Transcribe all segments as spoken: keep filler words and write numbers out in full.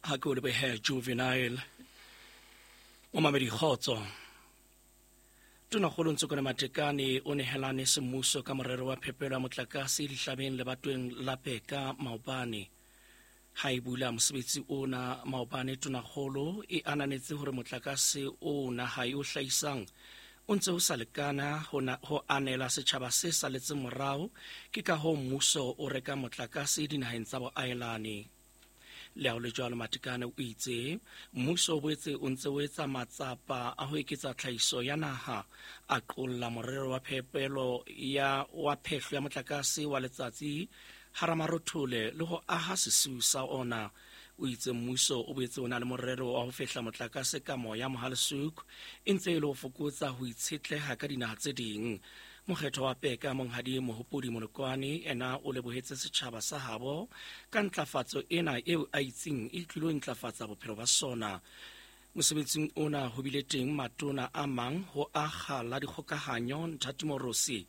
Ha ke o lebohe Juvenile. Momamedi, kgotso. Tonakgolo Ntsokoane Matekane o nehelane semmuso ka morero wa phepelo ya motlakase dihlabeng lebatoweng la Peka maobane. Ha e bula mosebetsi ona maobane, tonakgolo e ananetse hore motlakase o naha e o hlahisang o ntse o sa lekana ho, na, ho anela setjhaba se saletseng morao, ke ka hoo mmuso o reka motlakase dinaheng tsa boahelani. Le ha ho le jwalo, Matekane o itse mmuso o boetse o ntse o etsa matsapa a ho eketsa tlhahiso ya naha, a qolla morero wa phepelo ya wa phehlo ya motlakase wa letsatsi hara marothole le ho aha sesiu sa ona. O itse mmuso o boetse o na le morero wa ho fehla motlakase ka moya Mohale'shoek, e ntse e le ho fokotsa ho itshetleha ka dinaha tse ding. Mokgetho wa Peka Monghadi Mohopodi Molokwane ena o lebohetse setjhaba sa habo ka ntlafatso ena eo a itseng e tlilo ntlafatsa bophelo ba sona. Mosebetsing ona ho bile teng matona a mang ho akga la dikgokahanyo Nthati Moorosi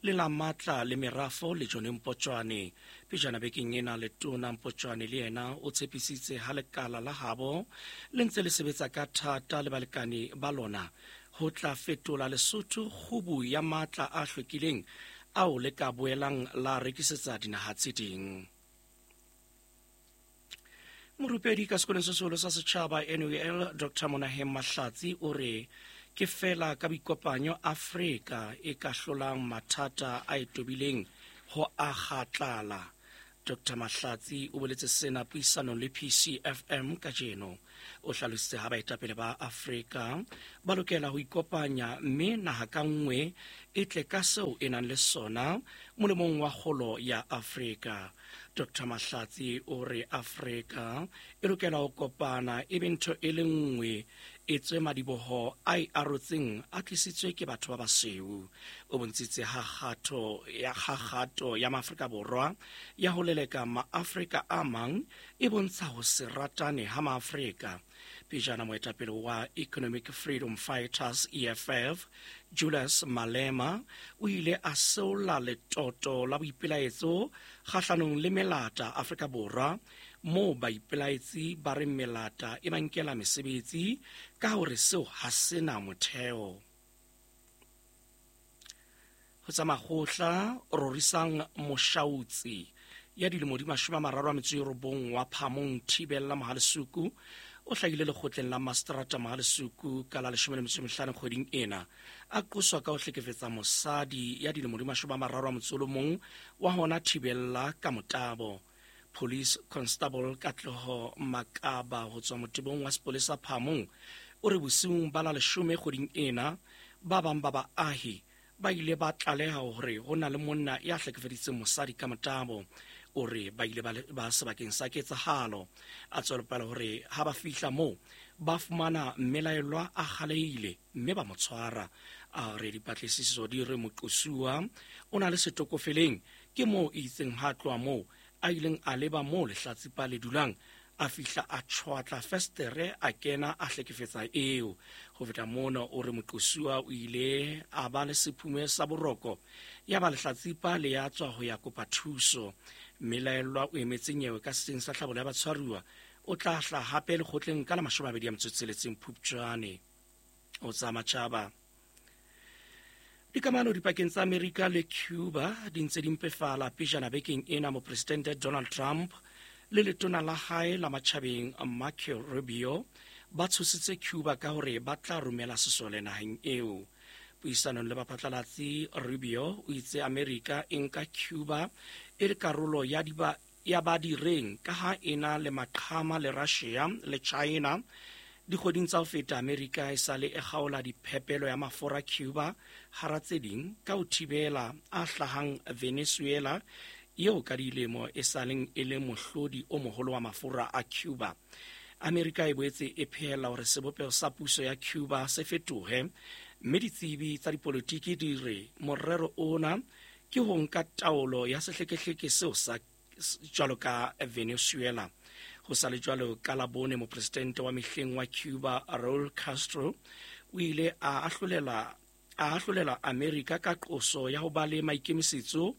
le la matla le merafo le John Mpotjoane. Pejana bekeng ena letona Mpotjoane le yena o tshepisitse ha lekala la habo le ntse le sebetsa ka thata le balekane ba lona ho tla fetola Lesotho kgubu ya matla a hlwekileng ao le ka boelang la rekisetsa dinaha tse ding. Morupedi ka sekolong se seholo sa setjhaba N U L Doctor Monaheng Mahlatsi o re ke fela ka boikopanyo Afrika e ka hlolang mathata a e tobileng ho akga tlala. Doctor Mahlatsi o boletse sena puisanong le P C F M kajeno. O hlalositse ha baetapele ba Afrika ba lokela ho ikopanya mme naha ka nngwe e tle ka seo e nang le sona molemong wa kgolo ya Afrika. Doctor Mahlatsi o re Afrika e lokela ho kopana e be ntho e le nngwe, e tswe madiboho a e arotseng a tlisitswe ke batho ba basweu. O bontshitse ha kgato ya kgato ya Maafrika Borwa ya ho leleka Maafrika a mang e bontsha ho se ratane ha Maafrika. Pejana moetapele wa Economic Freedom Fighters E F F Julius Malema o ile a seola letoto la boipelaetso kgahlanong le melata Afrika Borwa, moo baipelaetsi ba reng melata e ba nkela mesebetsi ka hore seo ha se na motheo. Ho tsa makgotla, Rorisang Moshautsi ya dilemo di mashome a mararo a metso e robong wa Phamong Thibella Mohale'shoek o hlahile lekgotleng la Mastrata Mohale'shoek ka la leshome le metso e mehlano kgweding ena, a qoswa ka ho hlekefetsa mosadi ya dilemo di mashome a mararo a motso o le mong wa hona Thibella ka motabo. Police Constable Katleho Makaba ho tswa motebong wa sepolesa Phamong o re bosiung ba la leshome kgweding ena ba bang ba baahi ba ile ba tlaleha hore ho na le monna ya hlekefeditseng mosadi ka motabo. O re ba ile ba sebakeng sa ketsahalo. A tswela pele hore ha ba fihla moo ba fumana mmelaelwa a kgalehile mme ba mo tshwara. A re dipatlisiso di re moqosuwa o na le setokofeleng, ke moo e itseng ha tloha moo a ileng a leba moo lehlatsipa le dulang, a fihla a tjhwatla festere a kena a hlekefetsa eo. Ho feta mona o re moqosuwa o ile a ba le sephume sa boroko ya ba lehlatsipa le ya tswa ho ya kopa thuso. Mmelaellwa o emetse nyewe ka setsing sa tlhabollo ya batshwaruwa, o tla hla hape lekgotleng ka la mashome a mabedi a metso e tsheletseng Phupjane. O tsa matjhaba. Dikamano dipakeng tsa Amerika le Cuba di ntse di mpefala pejana bekeng ena mopresidente Donald Trump le letona la hae la matjhabeng Marco Rubio ba tshositse Cuba ka hore ba tla romela sesole naheng eo. Puisanong le baphatlalatsi, Rubio o itse Amerika e nka Cuba e le karolo ya diba ya badireng ka ha e na le maqhama le Russia le China. Dikgweding tsa ho feta Amerika e sale e kgaola diphepelo ya mafura Cuba hara tse ding ka ho thibela a hlahang Venezuela eo ka dilemo e saleng e le mohlodi o moholo wa mafura a Cuba. Amerika e boetse e phehella hore sebopeho sa puso ya Cuba se fetohe, mme ditsebi tsa dipolotiki di re morero ona ke ho nka taolo ya sehlekehleke seo sa jwalo ka Venezuela. Ho sa le jwalo ka Labone, mopresidente wa mehleng wa Cuba Raul Castro o ile a ahlolela a ahlolela Amerika ka qoso ya ho ba le maikemisetso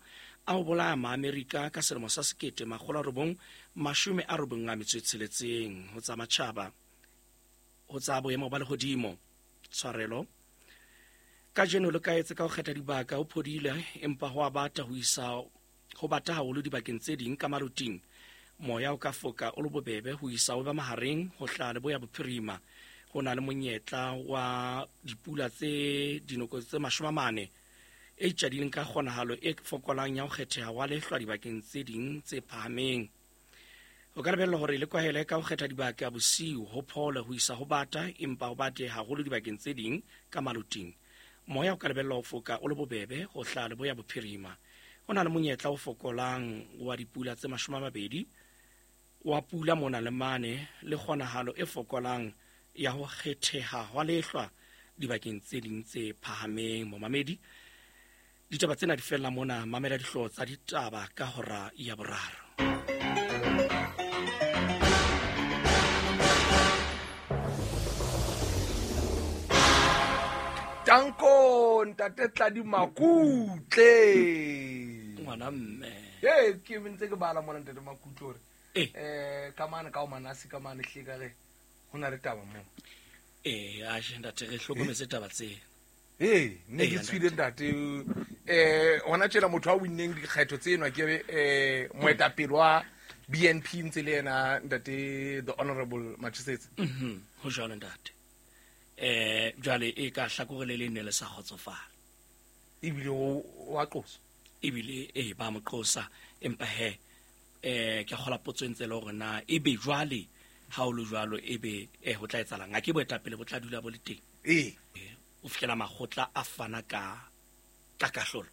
a ho bolaya Maamerika ka selemo sa sekete makgolo a robong mashome a robong a metso e tsheletseng. Ho tsa matjhaba, ho tsa boemo ba lehodimo, tshwarelo kajeno le ka etse ka ho kgetha dibaka ho phodile, empa ho a bata ho isa ho bata haholo dibakeng tse ding ka maluting. Moya o ka foka o le bobebe ho isa ho ba mahareng ho hlaha leboya bophirima. Ho na le monyetla wa dipula tse dinoko tse mashome a mane e tjadileng ka kgonahalo e fokolang ya ho kgetheha wa lehlwa dibakeng tse ding tse phahameng. O ka lebella hore le kwahele ka ho kgetha dibaka bosiu ho phole ho isa ho bata, empa ho bate haholo dibakeng tse ding ka maluting. Moya o ka lebella ho foka o le bobebe ho hlaha leboya bophirima. Ho na le monyetla o fokolang wa dipula tse mashome a mabedi wa pula mona le mane le kgonahalo e fokolang ya ho kgetheha hwa lehlwa dibakeng tse ding tse phahameng. Momamedi, ditaba tsena di fella mona. Mamela dihlooho tsa ditaba ka hora ya boraro. Tanko ntate Tladi Makutle. Ngwana mme. Eh ke ntse ke bala mona ntate Makutle hore Eh. eh ka mane ka o manasi ka mane hle ka re ho na le taba mo. Eh a je ntate re hlokometse taba tse. Eh ne ke Eh, tshwile ntate eh hona tjela motho a winneng dikgetho tseno ke eh moetapele wa B N P ntse le yena ntate the Honorable Matshisetsa. Mhm ho jwalo ntate. Eh jwale e ka hlakore le le ne le sa kgotsofala. Ebile o wa qosa. Ebile eh ba mo qosa empa he eh ke kgola potso ntse le hore na ebe jwale ha o le jwalo ebe eh ho tla etsahalang, a ke boetapele bo tla dula bo le teng. Eh o fihlela makgotla a fana ka ka kahlolo.